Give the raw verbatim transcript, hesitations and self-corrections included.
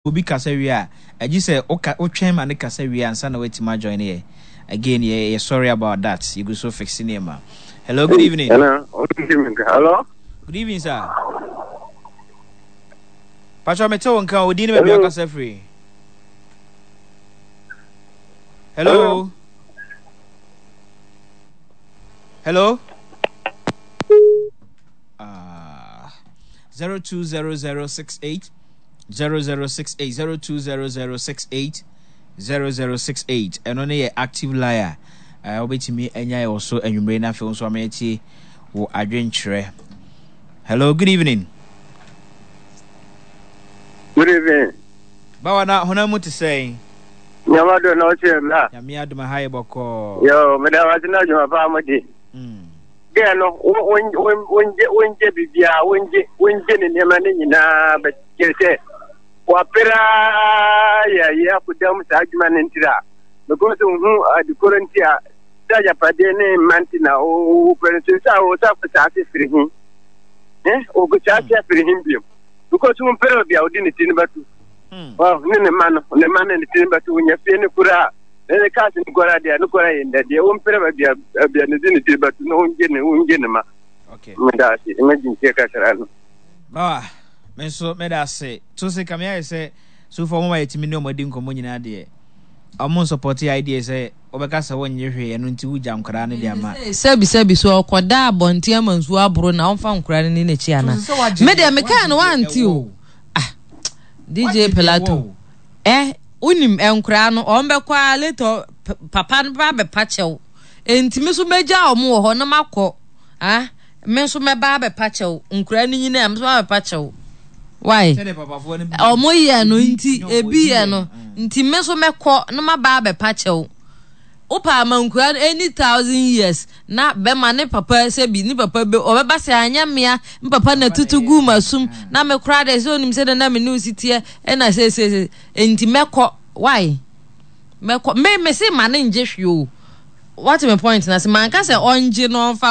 Obi kasa wie a, agye sɛ woka wotwɛn ma ne kasa wie ansa na woatumi ajoin yɛ. Again, yɛ yɛ sorry about that. Yɛgu so fix nneɛma. Hello, good evening. Hello, hello. Good evening, sir. Patro, mete wo nka, odin ne baabi akasa firi. Hello. Hello. Ah, zero two zero zero six eight zero zero six eight zero two zero zero six eight zero zero six eight. Ɛno ne yɛ active liar. Ɛɛ wobɛtumi anya yɛ wɔ so anwummere na afei nso ama yɛtie wɔ adwenkyerɛ. Hello, good evening. Good evening. Bawa na honam mu te sɛn? Nyama do na ɔkyerɛ mi a. Nyame adom aha yɛ bɔkɔɔ. Yo, meda wase na adwuma paa mo di. Gɛɛ no, wongye wongye biribiara, wongye wongye ne nneɛma no nyinaa bɛkyerɛ sɛ wapere yɛ yɛ akoda mu saa adwuma no ntira. Because nhu adekoro nti a sɛ agyapadeɛ ne mma nti na wopɛ no so sɛ wo sɛ akɔsaa ase firi he. Eh, wokɔsaa ase afiri he biom. Because wompere obi a wode ne ti no bɛto. Ne ne mma no, ne mma no ne ti no bɛto, wonya fie no koraa. Ne cars no koraa deɛ no koraa yɛ ndɛ deɛ wompere baabi a baabi a ne de ne ti bɛto na wongye ne wongye ne ma. Okay. Meda ase, imagine tie kakra no. Bawa, me nso meda ase. To se kame ayɛ sɛ so far ɔmo ma yɛtumi ne ɔmo adi nkɔmmɔ nyinaa deɛ ɔmo nsupɔte idea sɛ wobɛka sɛ wonnye hwee ɛno nti wogya nkwadaa no de ama. Sɛbi sɛbi so ɔkɔda abɔnten ama nsuo aboro na ɔmfa nkwadaa no ni n'akyi ana? Me deɛ mekaa no wante o. Ah, D J Pilato. Eh, wonim nkoraa no, ɔmo bɛkɔ a later papa no ba abɛpa kyɛw. Enti me nso mɛgya ɔmo wɔ hɔ na makɔ. Ah, me nso mɛba abɛpa kyɛw. Nkoraa no nyinaa me nso abɛpa kyɛw. Why? Ɔmo yɛ no nti, ebi yɛ no nti me nso mɛkɔ na maba abɛpa kyɛw. Wopa ama nkoraa no any thousand years na bɛma ne papa sɛbi ne papa bɛ ɔbɛba sɛ anyɛ mmea ne papa na tutu gu ma sum na me koraa de sɛ onim sɛ de na me ne osi teɛ ɛna sɛ sɛ sɛ nti mɛkɔ. Why mɛkɔ? Me me se ma ne ngye hwee o. What my point na sɛ manka sɛ ɔngye na ɔmfa